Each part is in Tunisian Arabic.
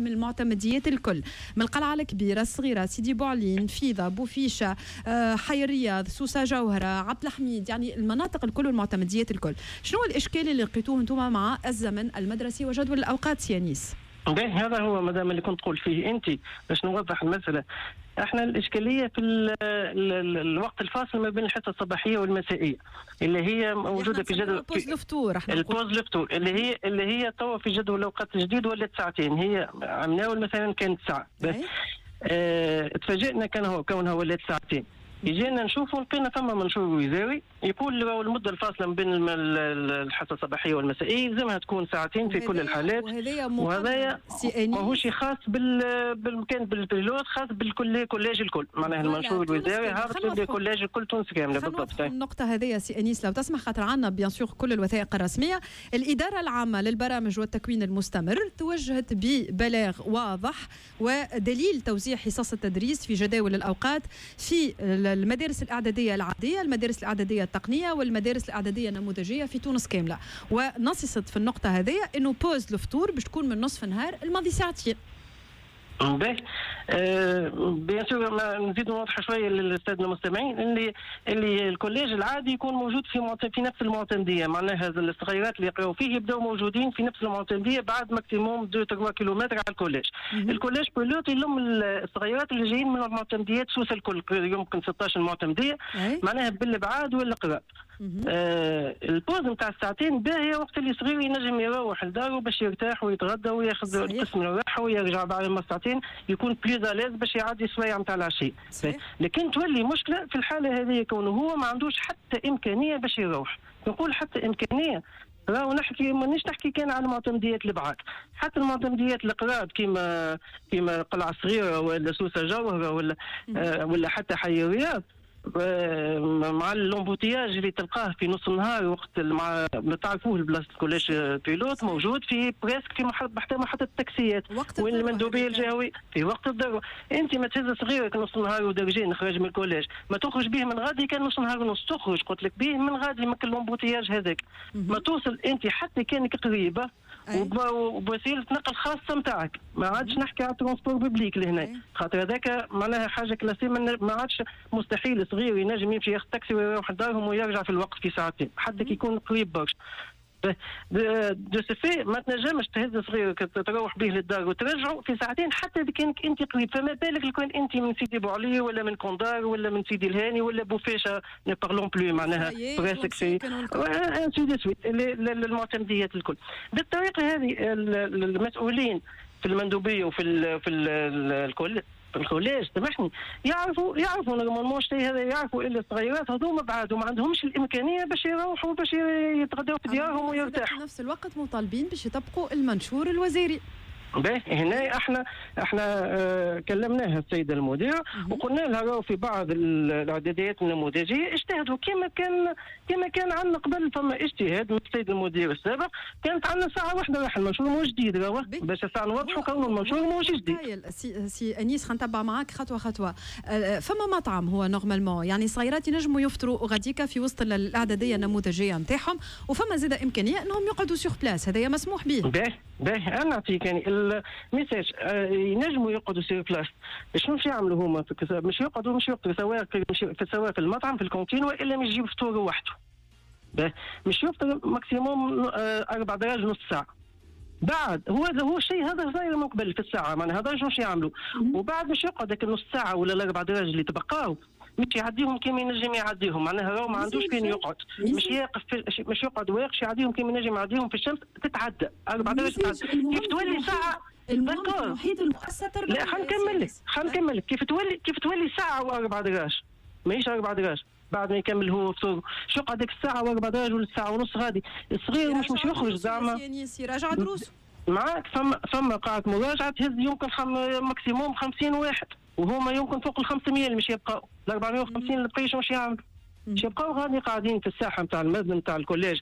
من المعتمديات الكل، من القلعة الكبيرة، الصغيره، سيدي بوعلين، فيضه، بوفيشه، حي الرياض، سوسه، جوهره، عبد الحميد، يعني المناطق الكل والمعتمديات الكل. شنو الاشكال اللي لقيتوه انتم مع الزمن المدرسي وجدول الاوقات سي انيس؟ هذا هو مدام اللي كنت تقول فيه انت، باش نوضح المساله. احنا الاشكالية في ال ال الوقت الفاصل ما بين الحصة الصباحية والمسائيه اللي هي موجودة في جدول pause الفطور. ال pause الفطور اللي هي توا في جدول الاوقات الجديد ولات ساعتين، هي عمناول مثلا كانت ساعة بس. تفاجئنا كان هو كونها ولات ساعتين. اجينا نشوفوا لقينا ثم منشور وزاري يقول المدة الفاصلة ما بين الحصة الصباحية والمسائيه يلزمها تكون ساعتين في كل الحالات. وهذايا ماهوش خاص بالمكان بال pilote، خاص بالكل collège الكل، معناها المنشور الوزاري هابط لل collège الكل تونس كاملة بالضبط. النقطة هذه سي انيس لو تسمح، خاطر عندنا bien sûr كل الوثائق الرسميه. الادارة العامة للبرامج والتكوين المستمر توجهت ببلاغ واضح ودليل توزيع حصص التدريس في جداول الاوقات في المدارس الاعدادية العاديه، المدارس الاعدادية التقنية والمدارس الاعدادية النموذجيه في تونس كامله، ونصصت في النقطة هذه انه pause الفطور باش تكون من نصف نهار الماضي ساعتين. باهي، bien sûr نزيد نوضح شوية للسادة المستمعين اللي ال collège العادي يكون موجود في نفس المعتمديه، معناها الصغيرات اللي يقراوا فيه يبداو موجودين في نفس المعتمديه بعد maximum 2 3 كيلومتر على ال collège. ال collège pilote يلم الصغيرات اللي جايين من المعتمديات سوسة الكل، يمكن 16 معتمديه، معناها بالابعاد والقراب. ال pause نتاع الساعتين باهيه وقت اللي صغير ينجم يروح لداره باش يرتاح ويتغدى وياخذ قسم الراحة ويرجع بعد ما ساعتين يكون plus à l'aise باش يعدي السوايع نتاع العشية. لكن تولي مشكلة في الحالة هذه كونه هو ما عندوش حتى امكانية باش يروح. نقول حتى امكانيه، راهو نحكي مانيش نحكي كان على المعتمديات البعاد، حتى المعتمديات القراب كيما قلعه صغيرة ولا سوسة جوهره ولا حتى حي الرياض، مع l'embouteillage اللي تلقاه في نص النهار وقت مع ما تعرفوه البلاصة ال collège pilote موجود في presque في محطة محطة التاكسيات وين المندوبيه الجهوي في وقت الذروه. انت ما تهز صغيرك نص النهار ودرجين خرج من ال collège، ما تخرج به من غادي كان نص نهار ونص، تخرج قلت لك به من غادي من l'embouteillage هذاك ما توصل انت حتى كانك قريبه وبوسيله نقل خاصة نتاعك. ما عادش نحكي على transport public لهنا، خاطر هذاك معناها حاجة classée، ما عادش مستحيل صغير ينجم يمشي ياخذ تاكسي ويروح لدارهم ويرجع في الوقت في ساعتين حتى كي يكون قريب برشا. de ce fait ما تنجمش تهز صغيرك تروح به للدار وترجعه في ساعتين حتى اذا كانك انت قريب، فما بالك لو كان انت من سيدي بوعلي ولا من كوندار ولا من سيدي الهاني ولا بوفيشه، ne parlons plus، معناها presque c'est ainsi de suite المعتمديات الكل. بالطريقة هذه المسؤولين في المندوبيه وفي ال في ال الكل في ال collège، سامحني، يعرفوا normalement الشيء هذا، يعرفوا اللي الصغيرات هذوما بعد وما عندهمش الامكانية باش يروحوا باش يتغدوا في ديارهم ويرتاحوا. في نفس الوقت مطالبين باش يطبقوا المنشور الوزاري. باهي، هنا احنا كلمناها السيدة المديرة وقلنا لها راهو في بعض الاعداديات النموذجيه اجتهدوا كما كان عندنا قبل، فما اجتهاد من السيد المدير السابق، كانت عندنا ساعة واحدة راح. المنشور مش جديد راهو، باش الساعة نوضحوا كونه المنشور مش جديد. سي انيس، خلينا نتبع معاك خطوة خطوه. فما مطعم هو normalement، يعني صغيرات ينجموا يفطروا غاديكا في وسط الاعدادية النموذجيه نتاعهم، وفما زاد امكانية انهم يقعدوا sur place، هذايا مسموح به. باهي باهي، انا نعطيك يعني message، ينجموا يقعدوا sur place. شنو باش يعملوا هما؟ مش يقعدوا سواء في المطعم في الكونتين والا مش يجيب فطور وحده. مش يفطر maximum 4 دراج، نص ساعه. بعد هو الشيء هذا صاير من قبل في الساعه، معناها هذا شنو يعملوا، وبعد مش يقعد هيك النص ساعة ولا ال4 دراج اللي تبقاو مش يعديهم كيما ينجم يعديهم، معناها راهو ما عندوش فين يقعد، مش يقف في مش يقعد واقف يعديهم كيما ينجم يعديهم في الشمس. تتعدى 4 دراج، كيف تولي ساعه. المهم محيط المؤسسه. لا، خلينا نكمل لك، خلينا نكمل لك. كيف تولي ساعة و4 دراج، ماهيش 4 دراج، بعد ما يكمل هو فطور شو يقعد ديك الساعة و4 دراج ولا الساعة ونص غادي الصغير مش يخرج زعما. يراجع دروسه. معاك، فما قاعة مراجعه تهز يمكن maximum 50 واحد، وهما يمكن فوق ال 500 اللي مش يبقاو. ال 450 اللي بقيش مش يعملوا؟ مش يبقاو غادي قاعدين في الساحة نتاع المبنى نتاع ال collège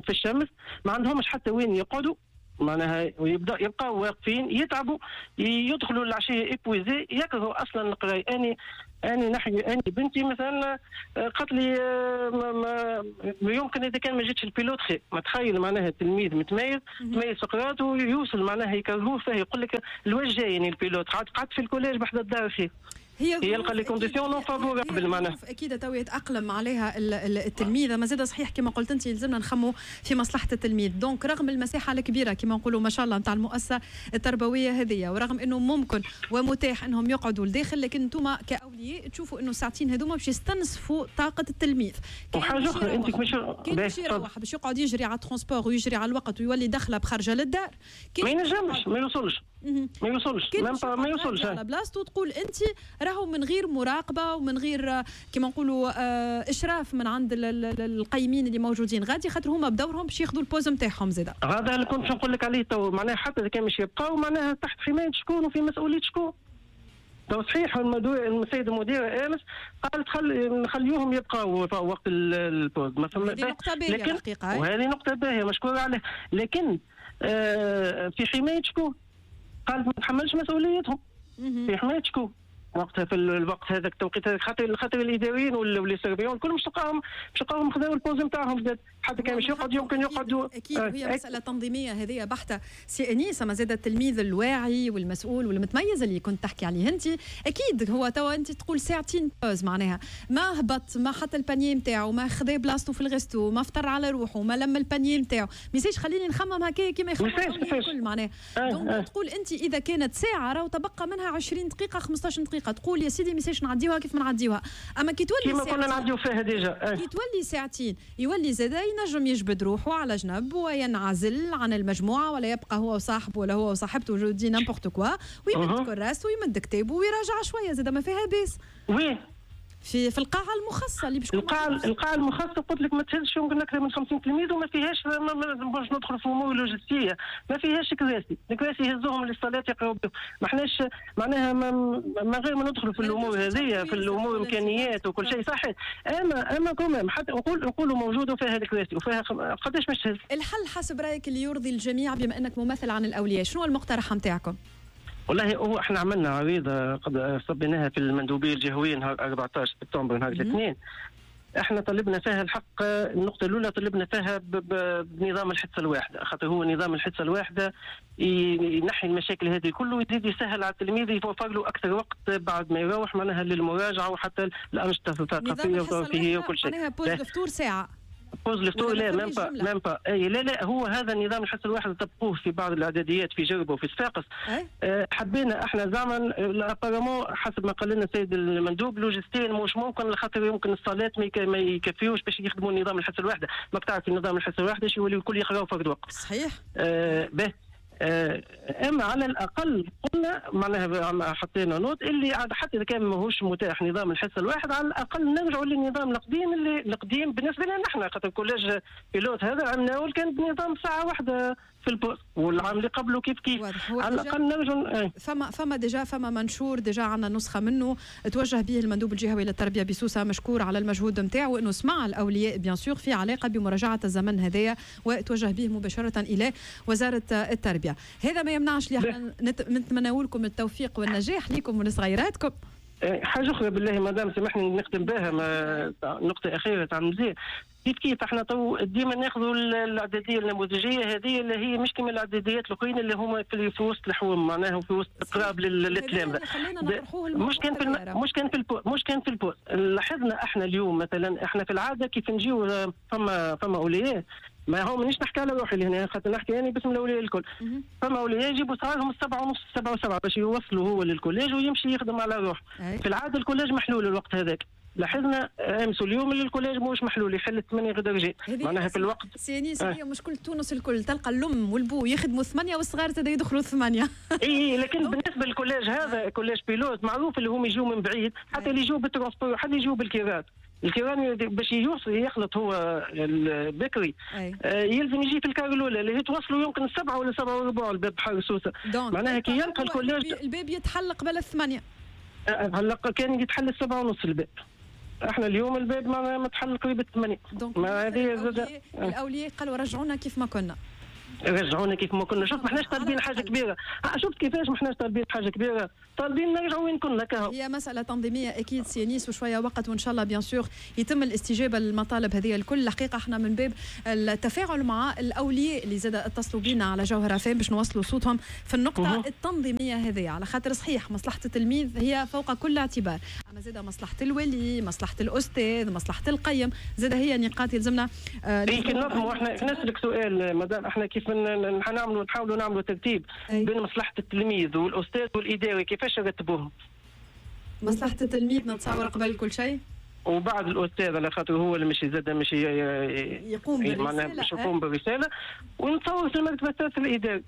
في الشمس، ما عندهمش حتى وين يقعدوا، معناها ويبدا يبقاو واقفين يتعبوا، يدخلوا العشية épuisés، يكرهوا اصلا القراية. اني انا نحكي انا بنتي مثلا قالت لي يمكن اذا كان ما جاتش ال pilote خير. ما تخيل معناها التلميذ متميز تميز في قراءته ويوصل معناها يكرهوه فيه، يقول لك الوجه جاي يعني ال pilote قعدت في ال collège بحذا الدار خير. هي يلقى les conditions non favorables معناها اكيد تو يتاقلم عليها التلميذ. ما زاد صحيح كما قلت انت يلزمنا نخمو في مصلحة التلميذ. donc رغم المساحة الكبيرة كما نقولوا ما شاء الله نتاع المؤسسة التربوية هذه، ورغم انه ممكن ومتاح انهم يقعدوا لداخل، لكن انتم كاولياء تشوفوا انه الساعتين هذوما باش يستنزفوا طاقة التلميذ. وحاجه اخرى انت مش كان باش يروح باش يقعد يجري على ال transport ويجري على الوقت ويولي دخله بخرجه للدار، ما ينجمش، ما يوصلش، ما يوصلش، ما يوصلش على بلاصتو. تقول انت راهو من غير مراقبة ومن غير كما نقولوا اشراف من عند القيمين اللي موجودين غادي، خاطر هما بدورهم باش ياخذوا ال pause نتاعهم زاده. هذا اللي كنت نقول لك عليه تو، معناها حتى اذا كان مش يبقاو معناها تحت حماية شكون وفي مسؤولية شكون. تو صحيح السيد المدير امس قال نخليوهم يبقاو وقت ال pause، ما فما. هذه نقطة باهيه الحقيقة، وهذه نقطة باهيه مشكور عليه، لكن في حماية شكون؟ قالت ما تحملش مسؤوليتهم. في حماية شكون؟ وقتها في الوقت هذاك التوقيت هذاك، خاطر الاداريين ولا les surveillants الكل مش تلقاهم خذاو ال pause نتاعهم، حتى كان مش يقعد يمكن يقعدوا. اكيد وهي مسالة تنظيميه هذه بحته سي انيس. ما زاد التلميذ الواعي والمسؤول والمتميز اللي كنت تحكي عليه انت، اكيد هو توا انت تقول ساعتين pause، معناها ما هبط، ما حط ال panier نتاعو، ما خذا بلاصتو في ال resto، ما فطر على روحه، ما لم ال panier نتاعو، ما خليني نخمم هكايا كيما يخمم الكل معناها. donc تقول انت اذا كانت ساعة راهو تبقى منها 20 دقيقة 15 دقيقة، تقول يا سيدي ميساش نعديوها كيف ما نعديوها. اما كي تولي كيما كنا نعديو فيها déjà، كي تولي ساعتين يولي زادا ينجم يجبد روحه على جنب وينعزل عن المجموعة، ولا يبقى هو وصاحبه ولا هو وصاحبته je dis n'importe quoi، ويمد كراسته ويمد كتابه ويراجع شوية زادا ما فيها باس. oui في القاعة المخصصة اللي باش القاعة المخصصة قلت لك ما تهزش يمكن اكثر من 50 تلميذ، وما فيهاش باش ندخل في امور لوجستية، ما فيهاش كراسي، الكراسي يهزوهم للصلاة يقراو بهم، ما احناش معناها ما غير ما ندخلوا في الامور هذه، في الامور الامكانيات وكل شيء صحيح، اما quand même حتى نقولوا موجودة وفيها الكراسي وفيها قداش باش تهز. الحل حسب رايك اللي يرضي الجميع بما انك ممثل عن الاولياء، شنو المقترح نتاعكم؟ والله هو احنا عملنا عريضة قد صبيناها في المندوبيه الجهوية نهار 14 سبتمبر نهار الاثنين. احنا طلبنا فيها الحق، النقطة الاولى طلبنا فيها بنظام الحصة الواحدة، خاطر هو نظام الحصة الواحدة ينحي المشاكل هذه كله ويزيد يسهل على التلميذ، يوفر له اكثر وقت بعد ما يروح معناها للمراجعة وحتى الانشطة الثقافية والترفيهيه وكل شيء. معناها pause الفطور ساعة. pause الفطور لا même pas même pas اي لا لا، هو هذا النظام الحصة الواحد طبقوه في بعض الاعداديات في جربه وفي صفاقس. حبينا احنا زعما apparemment حسب ما قال لنا السيد المندوب لوجستيا مش ممكن، خاطر يمكن الصالات ما يكفيوش باش يخدموا النظام الحصة الواحدة، ماك تعرف النظام الحصة الواحدة شو يولي الكل يقراو فرد وقت. صحيح. به اما على الاقل قلنا معناها حطينا note اللي حتى اذا كان ماهوش متاح نظام الحصة الواحد، على الاقل نرجعوا للنظام القديم اللي القديم بالنسبة لنا نحن، خاطر collège pilote هذا عملناه كان بنظام ساعة واحدة في ال pause، والعام اللي قبله كيف كيف. على الاقل نرجعوا. فما déjà فما منشور déjà عندنا نسخه منه توجه به المندوب الجهوي للتربية بسوسه، مشكور على المجهود نتاعو انه سمع الاولياء bien sûr في علاقة بمراجعه الزمن هذايا، وتوجه به مباشرة الى وزارة التربية. هذا ما يمنعش اللي احنا نتمنوا لكم التوفيق والنجاح لكم ولصغيراتكم. حاجة اخرى بالله مدام سامحني نختم بها، نقطة اخيرة تاع مزيان. كيف كيف احنا تو ديما ناخذوا الاعدادية النموذجيه هذه اللي هي مش كما الاعداديات الاخرين اللي هما في وسط الحوم معناها في وسط قراب للتلامذه. مش كان في مش كان في مش كان في ال pause. لاحظنا احنا اليوم مثلا احنا في العادة كيف نجيو فما اولياء، ما هو مانيش نحكي على روحي لهنا خاطر نحكي يعني باسم الاولياء الكل. فما اولياء يجيبوا صغارهم 7:30 7:07 باش يوصلوا هو لل collège ويمشي يخدم على روحه. في العادة ال collège محلول الوقت هذاك. لاحظنا امس اليوم اللي ال collège ماهوش محلول، يحل 8 غدا رجال معناها في الوقت. سي انيس هي مشكلة تونس الكل، تلقى الام والبو يخدموا 8 والصغار زاد يدخلوا 8. اي لكن بالنسبة لل collège هذا collège pilote معروف اللي هم يجوا من بعيد، حتى اللي يجوا بال transport حتى يجوا بالكيرات. الكيران باش يوصل يخلط هو البكري يلزم يجي في ال car الاولى اللي هي توصلوا يمكن 7 ولا 7:15 الباب بحر سوسة. معناها كي يلقى ال collège الباب يتحل قبل 8. هلا كان يتحل 7:30 الباب. احنا اليوم الباب ما تحل قريب 8. ما هذه الاولياء قالوا رجعونا كيف ما كنا. رجعونا كيف ما كنا. شوف ما احناش طالبين حاجة كبيرة، شفت كيفاش ما احناش طالبين حاجة كبيرة، طالبين نرجعوا وين كنا كهو. هي مسالة تنظيميه اكيد سي انيس، وشوية وقت وان شاء الله bien sûr يتم الاستجابة للمطالب هذه الكل. الحقيقة احنا من باب التفاعل مع الاولياء اللي زاد اتصلوا بينا على جوهره فام باش نوصلوا صوتهم في النقطة التنظيمية هذه، على خاطر صحيح مصلحة التلميذ هي فوق كل اعتبار، اما زاد مصلحة الولي، مصلحة الاستاذ، مصلحة القيم، زاد هي نقاط يلزمنا. اي كي ننظموا احنا نسالك سؤال مدام، احنا كيف نعملوا نحاولوا نعملوا ترتيب بين مصلحة التلميذ والاستاذ والاداري، كيفاش نرتبوهم؟ مصلحة التلميذ نتصور قبل كل شيء، وبعد الاستاذ على خاطر هو اللي مش زاد مش يقوم بالرسالة، مش يقوم بالرسالة، ونتصور في المرتبة الثالثة الاداري.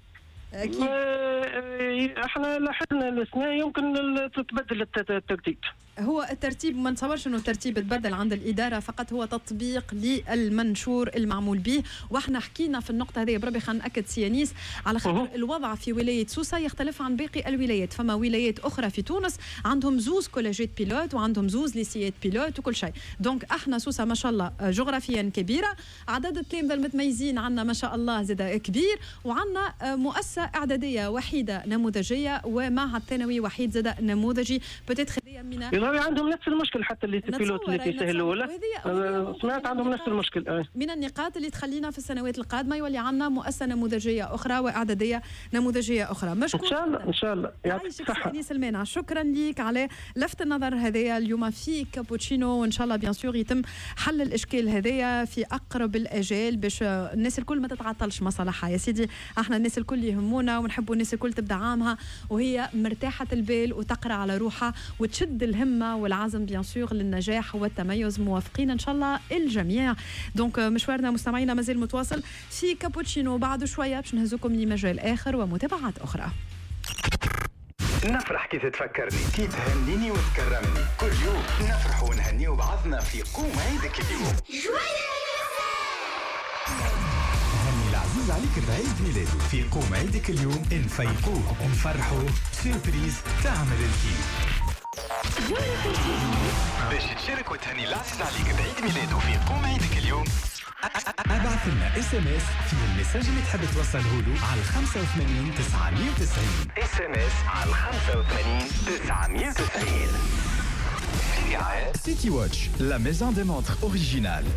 اكيد احنا لاحظنا السنة يمكن تتبدل الترتيب. هو الترتيب ما نتصورش انه الترتيب تبدل عند الادارة، فقط هو تطبيق للمنشور المعمول به، واحنا حكينا في النقطة هذه بربي خلينا ناكد سي انيس على خاطر الوضع في ولاية سوسة يختلف عن باقي الولايات، فما ولايات اخرى في تونس عندهم زوز collège ات pilotes وعندهم زوز lycée ات pilotes وكل شيء، donc احنا سوسة ما شاء الله جغرافيا كبيرة، عدد التلامذه المتميزين عندنا ما شاء الله زاد كبير، وعندنا مؤسسة اعدادية وحيده نموذجيه ومعهد ثانوي وحيد زاد نموذجي peut-être من عندهم نفس المشكل حتى les pilotes اللي في سهل ولا سمعت عندهم نفس المشكل. من النقاط اللي تخلينا في السنوات القادمة يولي عندنا مؤسسة نموذجيه اخرى واعداديه نموذجيه اخرى. مشكور ان شاء الله. ان شاء الله يعطيك الصحة انيس المانع، شكرا لك على لفت النظر هذايا اليوم في كابوتشينو، وان شاء الله bien sûr يتم حل الاشكال هذايا في اقرب الاجال باش الناس الكل ما تتعطلش مصالحها. يا سيدي احنا الناس الكل يهمونا ونحبوا الناس الكل تبدا عامها وهي مرتاحة البال وتقرا على روحها وتشد الهمه والعزم bien sûr للنجاح والتميز. موافقين ان شاء الله الجميع. donc مشوارنا مستمعينا مازال متواصل في كابوتشينو، بعد شوية باش نهزكم لمجال اخر ومتابعات اخرى. نفرح كي تتفكرني، كي تهنيني وتكرمني، كل يوم نفرح ونهنيو بعضنا في قوم عيدك اليوم. هني العزيز عليك بعيد ميلاده في قوم عيدك اليوم، نفيقوه نفرحوه surprise تعمل الكيف. باش تشارك وتهني العزيز عليك بعيد ميلاده في قوم عيدك اليوم، ابعث لنا SMS في ال message اللي تحب توصله له على 85 990. SMS على 85 990. City Watch, la maison des montres originales.